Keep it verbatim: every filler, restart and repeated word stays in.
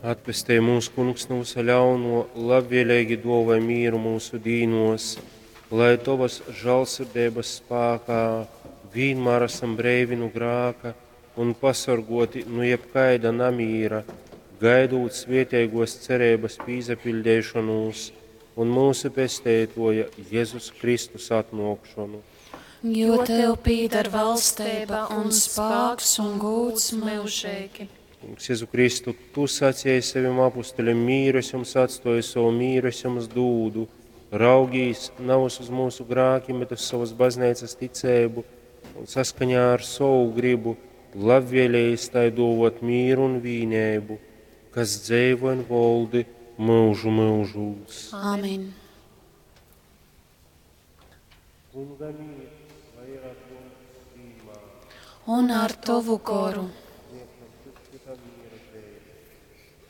Atpestej mūs, Kungs, nu vysa ļauno, labvēlīgi duovoj mīru mūsu dīnos, lai Tovas žālsirdeibas spākā vīnmār esam breivi nu grāka un pasorgoti nu jebkaida namīra, gaidūt svētīgos cerības pīsapiļdeišonūs un mūsu Pesteitoja Jezus Kristus atnōkšonu. Jo tev pīdar valstība un spāks un gūds mūžīgi. Kungs, Jezu Kristu, Tu sacīji saviem apustuļiem, mīru es jums atstoju, savu mīru es jums dūdu. Raugīs navus uz mūsu grākiem, bet uz savas baznīcas ticēbu un saskaņā ar savu gribu labvēlējis tai dovot mīru un vīnēbu, kas dzeivo un voldi mūžu mūžūs. Amen. Kunga mīrs, lai ir ar jums vienmēr. Un ar tavu goru.